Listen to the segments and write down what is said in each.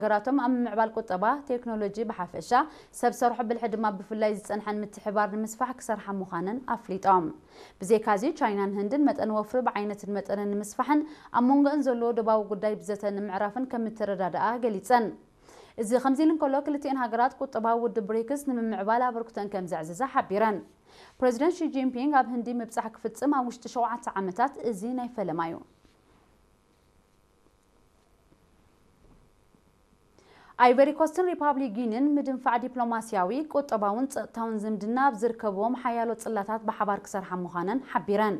ሃገራቶም ኣብ ምምዕባል ቁጠባ፣ ቴክኖሎጂ ብሓፈሻ፣ ሰብ ሰርሖ ብልሒ ድማ ብፍላይ ዝጸንሐን ምትሕባር ንምስፋሕ ክሰርሓ ምዃነን ኣፍሊጦም። ብዘይካዚ፣ ቻይናን ህንድን መጠን ወፍሪ ብዓይነትን መጠንን ንምስፋሕን ኣብ መንጎአን ዘሎ ዶባዊ ጉዳይ ብዘተ ንምዕራፍን ከም እተረዳድኣ ገሊጸን። እዚ ከምዚ ኢሉ እንከሎ፣ ክልቲኤን ሃገራት ቁጠባዊ ውድብ ብሪክስ ንምምዕባል ኣበርክቶን ከም ዘዕዘዛ ሓቢረን። ፕሬዚደንት ሺ ጂንፒንግ ኣብ ህንዲ ምብጻሕ ክፍጽም ኣብ ውሽጢ ሸውዓተ ዓመታት እዚ ናይ ፈለማ እዩ። ኣይቨሪ ኮስትን ሪፓብሊክ ጊኒን ምድንፋዕ ዲፕሎማስያዊ፣ ቁጠባውን ጸጥታውን ዝምድና ኣብ ዝርከብዎም ሓያሎ ጽላታት ብሓባር ክሰርሓ ምዃነን ሓቢረን።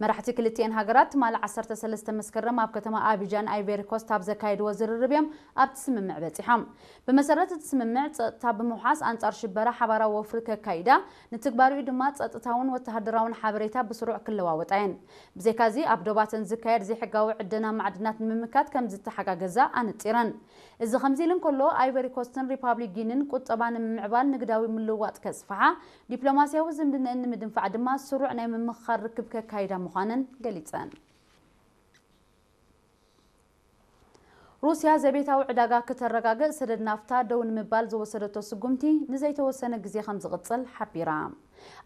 መራሕቲ ክልቲኤን ሃገራት ትማሊ ዓሰርተ ሰለስተ መስከረም ኣብ ከተማ ኣቢጃን ኣይቨሪ ኮስት ኣብ ዘካየድዎ ዝርርብ እዮም ኣብቲ ስምምዕ በጺሖም። ብመሰረት እቲ ስምምዕ፣ ጸጥታ ብምውሓስ ኣንጻር ሽበራ ሓባራዊ ወፍሪ ከካይዳ፣ ንትግባሪኡ ድማ ጸጥታውን ወተሃደራውን ሓበሬታ ብስሩዕ ክለዋወጣ እየን። ብዘይካዚ፣ ኣብ ዶባተን ዝካየድ ዘይሕጋዊ ዕደና ማዕድናት ንምምካት ከም ዝተሓጋገዛ ኣነጺረን። እዚ ከምዚ ኢሉ እንከሎ፣ ኣይቨሪ ኮስትን ሪፓብሊክ ጊኒን ቁጠባ ንምምዕባል ንግዳዊ ምልውዋጥ ከስፍሓ፣ ዲፕሎማስያዊ ዝምድነአን ንምድንፋዕ ድማ ስሩዕ ናይ ምምኽኻር ርክብ ከካይዳ ምዃነን ገሊጸን። ሩስያ ዘቤታዊ ዕዳጋ ክተረጋግእ ሰደድ ናፍታ ደው ንምባል ዝወሰደቶ ስጉምቲ ንዘይተወሰነ ግዜ ከም ዝቕጽል ሓቢራ።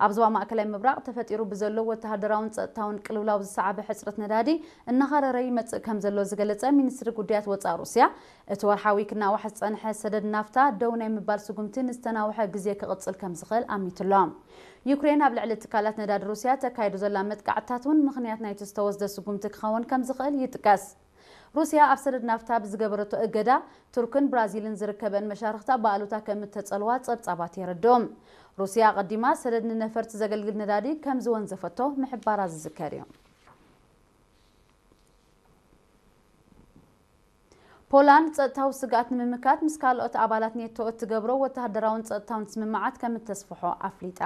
ኣብ ዞባ ማእከላይ ምብራቕ ተፈጢሩ ብዘሎ ወተሃደራውን ጸጥታውን ቅልውላው ዝሰዓበ ሕጽረት ነዳዲ እናኸረረ ይመጽእ ከም ዘሎ ዝገለጸ ሚኒስትሪ ጉዳያት ወጻኢ ሩስያ፣ እቲ ወርሓዊ ክናዋሕ ዝጸንሐ ሰደድ ናፍታ ደው ናይ ምባል ስጉምቲ ንዝተናውሐ ግዜ ክቕጽል ከም ዝኽእል ኣሚቱሎ። ዩክሬን ኣብ ልዕሊ ትካላት ነዳዲ ሩስያ ተካይዶ ዘላ መጥቃዕትታት እውን ምኽንያት ናይቲ ዝተወስደ ስጉምቲ ክኸውን ከም ዝኽእል ይጥቀስ። ሩስያ ኣብ ሰደድ ናፍታ ብዝገበረቶ እገዳ፣ ቱርክን ብራዚልን ዝርከበን መሻርኽታ ብኣሉታ ከም እተጸልዋ ጸብጻባት የረድኡ። ሩስያ ኣቐዲማ ሰደድ ንነፈርቲ ዘገልግል ነዳዲ ከም ዝወንዘፈቶ ምሕባራ ዝዝከር እዩ። ፖላንድ ጸጥታዊ ስግኣት ንምምካት ምስ ካልኦት ኣባላት ኔቶ እትገብሮ ወተሃደራውን ጸጥታውን ስምምዓት ከም እተስፍሖ ኣፍሊጣ።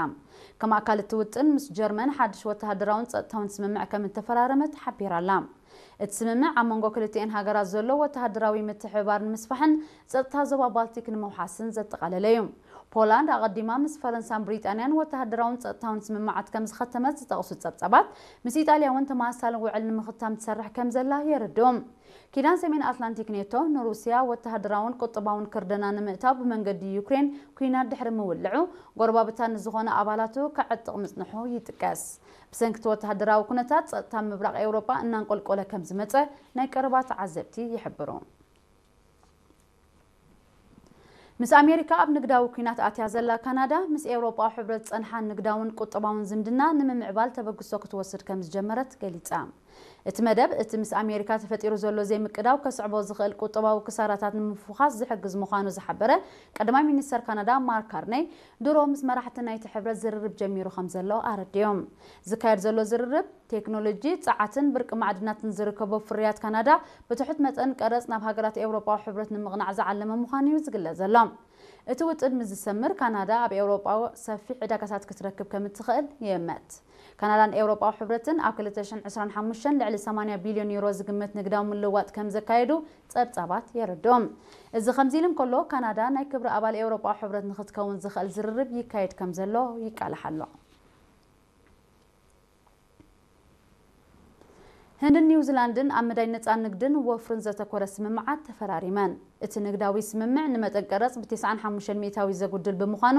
ከም ኣካል እቲ ውጥን፣ ምስ ጀርመን ሓድሽ ወተሃደራውን ጸጥታውን ስምምዕ ከም እተፈራረመት ሓቢራ ኣላ። እቲ ስምምዕ ኣብ መንጎ ክልቲኤን ሃገራት ዘሎ ወተሃደራዊ ምትሕብባር ንምስፋሕን ጸጥታ ዞባ ባልቲክ ንምውሓስን ዘጠቓለለ እዩ። ፖላንድ ኣቐዲማ ምስ ፈረንሳን ብሪጣንያን ወተሃደራውን ጸጥታውን ስምምዓት ከም ዝኸተመት ዝጠቕሱ ጸብጻባት፣ ምስ ኢጣልያ እውን ተመሳሳሊ ውዕል ንምኽታም ትሰርሕ ከም ዘላ የረድኡ። ኪዳን ሰሜን ኣትላንቲክ ኔቶ ንሩስያ ወተሃደራውን ቁጠባውን ክርደና ንምእታው ብመንገዲ ዩክሬን ኲናት ድሕሪ ምውልዑ፣ ጎረባብታ ንዝኾነ ኣባላቱ ከዕጥቕ ምጽንሑ ይጥቀስ። ብሰንኪ እቲ ወተሃደራዊ ኩነታት፣ ጸጥታ ምብራቕ ኤውሮጳ እናንቆልቆለ ከም ዝመጸ ናይ ቀረባ ተዓዘብቲ ይሕብሩ። ምስ ኣሜሪካ ኣብ ንግዳዊ ኲናት ኣትያ ዘላ ካናዳ፣ ምስ ኤውሮጳዊ ሕብረት ዝጸንሓ ንግዳውን ቁጠባውን ዝምድና ንምምዕባል ተበግሶ ክትወስድ ከም ዝጀመረት ገሊጻ። እቲ መደብ፣ እቲ ምስ ኣሜሪካ ተፈጢሩ ዘሎ ዘይምቅዳው ከስዕቦ ዝኽእል ቁጠባዊ ክሳራታት ንምፍዃስ ዝሕግዝ ምዃኑ ዝሓበረ ቀዳማይ ሚኒስተር ካናዳ ማርክ ካርነይ፣ ድሮ ምስ መራሕቲ ናይቲ ሕብረት ዝርርብ ጀሚሩ ከም ዘሎ ኣረዲኦም። ዝካየድ ዘሎ ዝርርብ፣ ቴክኖሎጂ፣ ጸዓትን ብርቂ ማዕድናትን ዝርከቦ ፍርያት ካናዳ ብትሑት መጠን ቀረጽ ናብ ሃገራት ኤውሮጳዊ ሕብረት ንምቕናዕ ዝዓለመ ምዃኑ እዩ ዝግለጽ ዘሎ። እቲ ውጥን ምስ ዝሰምር፣ ካናዳ ኣብ ኤውሮጳ ሰፊሕ ዕዳጋታት ክትረክብ ከም እትኽእል ይእመት። ካናዳን ኤውሮጳዊ ሕብረትን ኣብ ክልተ ሽሕን ዕስራን ሓሙሽተን ልዕሊ ሰማንያ ቢልዮን ዩሮ ዝግመት ንግዳዊ ምልውዋጥ ከም ዘካየዱ ጸብጻባት የረድኦም። እዚ ከምዚ ኢሉ እንከሎ፣ ካናዳ ናይ ክብሪ ኣባል ኤውሮጳዊ ሕብረት ንክትከውን ዝኽእል ዝርርብ ይካየድ ከም ዘሎ ይቃላሕ ኣሎ። ህንድን ኒውዚላንድን ኣብ መዳይ ነጻ ንግድን ወፍርን ዘተኮረ ስምምዓት ተፈራሪመን። እቲ ንግዳዊ ስምምዕ ንመጠን ቀረጽ ብ ተስዓን ሓሙሽተን ሚእታዊ ዘጉድል ብምዃኑ፣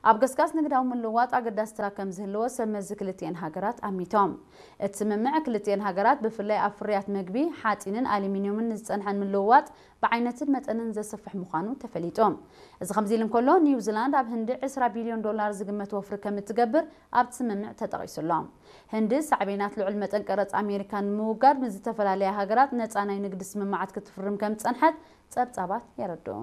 ኣብ ገስጋስ ንግዳዊ ምልውዋጥ ኣገዳሲ ተራ ከም ዝህልዎ ሰብ መዚ ክልቲኤን ሃገራት ኣሚቶም። እቲ ስምምዕ ክልቲኤን ሃገራት ብፍላይ ኣብ ፍርያት መግቢ፣ ሓጺንን ኣሉሚንዩምን ንዝጸንሐን ምልውዋጥ ብዓይነትን መጠንን ዘስፍሕ ምዃኑ ተፈሊጡ። እዚ ከምዚ ኢሉ እንከሎ፣ ኒውዚላንድ ኣብ ህንዲ ዕስራ ቢልዮን ዶላር ዝግመት ወፍሪ ከም እትገብር ኣብቲ ስምምዕ ተጠቒሱ ኣሎ። ህንዲ ሳዕቤናት ልዑል መጠን ቀረጽ ኣሜሪካ ንምውጋድ ምስ ዝተፈላለያ ሃገራት ነጻ ናይ ንግዲ ስምምዓት ክትፍርም ከም ዝጸንሐት ጸብጻባት የረድኡ።